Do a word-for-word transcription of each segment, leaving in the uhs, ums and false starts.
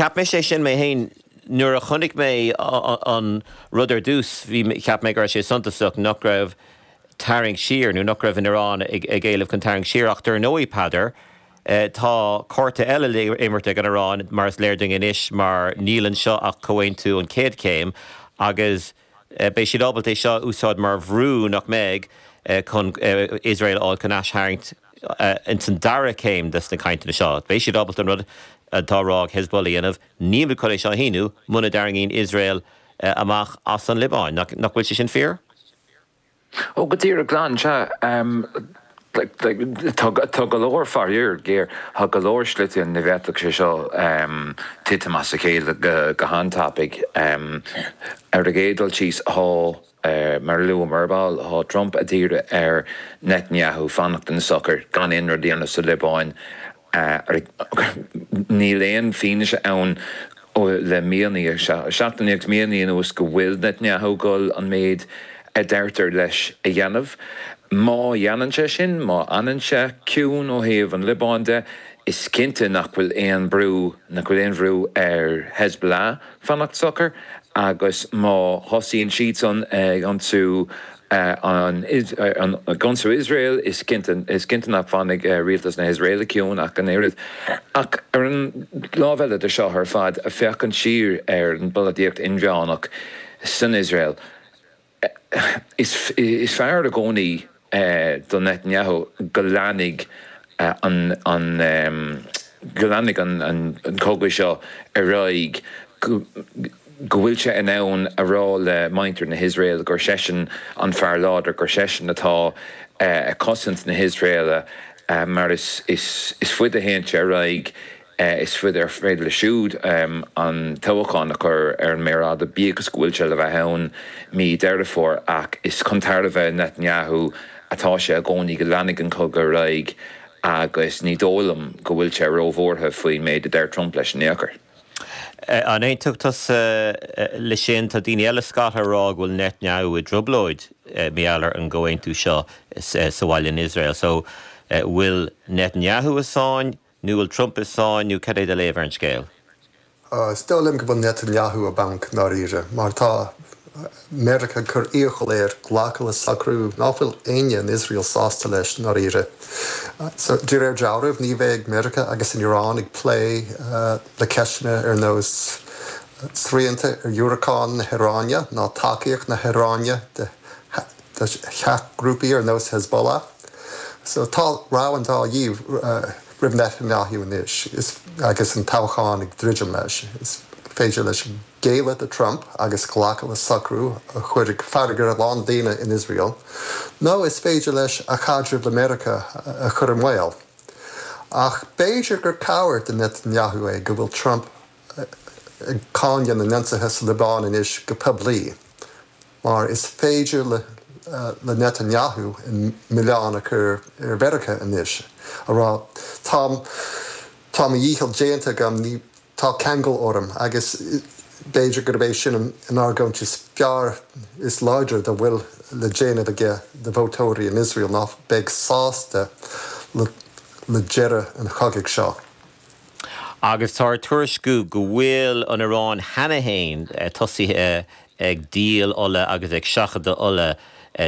Cheap mé sé sin mé féin nuair a chonaic mé an rud ar dtús bhí cheap mé go raibh sé suntasach nach raibh tarraingt siar nó nach raibh an Iaráin ag ag éileamh chun tarraingt siar ach dar ndóigh Peadar. Eh, tá cárta eile le imirt ag an Iaráin mar is léir dúinn anois mar níl anseo ach comhaontú an chéad chéim agus eh, beidh siad ábalta é seo úsáid mar bhrú nach mbeidh eh, chun Iosrael á chun aistharraingt in san dara céim des na cainteanna seo. Beidh siad ábalta an rud atá á rá ag Hezbollah a dhéanamh níl chun é seo a shíniú muna dtarraingíonn Iosrael amach as an Liobáin, nach bhfuil sé sin fíor? Ó go díreach glan sea tá go leor faraor géar tá go leor slite ina bhféadfadh sé seo titim as a chéile go han-tapaidh ar an gcéad dul síos tá mar a luadh ar ball tá Trump ag iarraidh ar Netanyahu fanacht ina shocair gan aon rud a dhéanamh sa Liobáin níl aon fianaise ann le míonna seachtainí agus míonna anuas go bhfuil Netanyahu ag dul an méid a deirtear leis a dhéanamh. Má dhéanann sé sin, má fhanann sé ciúin ó thaobh an Liobáin de, is cinnte nach bhfuil aon brú nach bhfuil aon bhrú ar Hezbollah fanacht socair agus má thosaíonn siadsan ag ionsaí an ionsaí Iosrael is cinnte is cinnte nach bhfanfaidh rialtas na hIosraeile ciúin ach an oiread. Ach ar an lámh eile de seo ar fad ag féachaint siar ar an bpolaitíocht inmheánach san Iosrael. Is is fearr i gcónaí do Netanyahu go leanfaidh an an go leanfaidh an an cogadh seo ar aghaidh go bhfuil sé in ann a rá le muintir na hIosrael gur seisean an fear láidir gur seisean atá ag cosaint na hIosraeile mar is is is faide a théann sé ar aghaidh is faide ar féidir leis siúd an toghchán a chur ar an méar fhada bíodh is go bhfuil sé le bheith ann mí Deireadh Fómhair ach is chun tairbhe Netanyahu atá sé i gcónaí go leanfaidh an cogadh ar aghaidh agus ní dóigh liom go bhfuil sé róbhuartha faoin méid a deir Trump leis in aon chor. An aontódh tusa leis sin tá daoine eile scata ag rá go bhfuil Netanyahu i dtrioblóid mar gheall ar an gcomhaontú seo sa bhaile in Iosrael. So bhfuil Netanyahu i sáinn nó bhfuil Trump i sáinn nó cad é do léamh ar an scéal? Is dóigh liom go bhfuil Netanyahu i bponc ndáiríre, mar tá Meiriceá ag cur iachall air glacadh le socrú nach bhfuil éinne in Iosrael sásta leis ndáiríre. So de réir dealraimh ní bheidh Meiriceá agus an Iaráin ag plé le ceisteanna ar nós srianta ar dhiúracáin na hIaráine ná tacaíocht na hIaráine de sheachghrúpaí ar nós Hezbollah. So tá rogha an dá dhíth roimh Netanyahu anois agus an toghchán ag druidim leis. Is féidir leis géilleadh do Trump agus glacadh le socrú a chuirfidh fearg ar a lán daoine in Iosrael, nó is féidir leis a chaidreamh le Meiriceá a chur i mbaol. Ach b'fhéidir gur cabhair do Netanyahu é go bhfuil Trump ag cáineadh na n-ionsaithe sa Liobáin anois go poiblí, mar is féidir le le Netanyahu an milleán a chur ar Mheiriceá anois a rá tá tá mo dhícheall déanta agam ní tá ceangal orm agus b'fhéidir gurb é sin an argóint is fearr is láidre dá bhfuil le déanamh aige do vótóirí in Iosrael ná beidh sásta le le deireadh an chogaidh seo. Agus tá tuairisciú go bhfuil an Iaráin cheana féin tosaithe ag díol ola agus ag seachadadh ola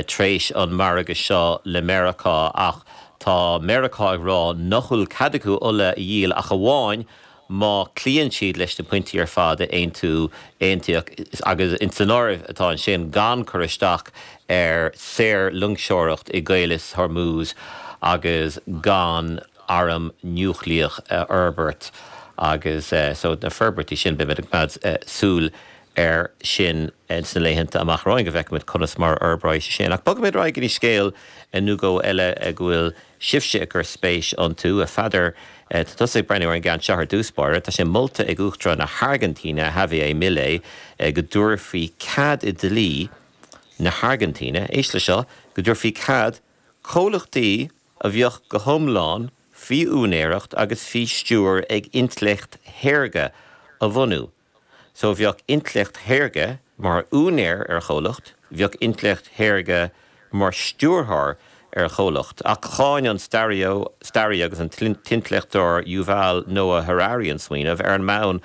tréis an margadh seo le Meiriceá ach tá Meiriceá ag rá nach bhfuil cead acu ola a dhíol ach amháin má chloíonn siad leis na pointí ar fad a aontú aontaíodh agus in san áireamh atá ansin gan cur isteach ar saor-loingseoireacht i gCaolas Hormuz agus gan arm núicléach a fhorbairt agus so na forbairtí sin beimid ag coimeád súil air sin sna laethanta amach romhainn go bhfeicfimid conas mar a fhorbróidh sé sin. Ach bogfaimid ar aghaidh go dtí scéal nó dhó eile go bhfuil sibhse ag cur spéis iontu a Pheadair tá tusa ag breathnú ar an gceann seo ar dtús báire, tá sé molta ag Uachtarán na hAirgintíne Javier Milei go dtabharfaí cead i dlí na hAirgintíne, éist le seo, go dtabharfaí cead comhlachtaí a bheadh go hiomlán faoi úinéireacht agus faoi stiúir ag intleacht shaorga a bhunú. So bheadh intleacht shaorga mar úinéir ar chomhlacht, bheadh intleacht shaorga mar stiúrthóir ar chomhlacht. Ach cháin an staraí agus an t-intleachtóir Yuval Noah Harari an smaoineamh ar an mbonn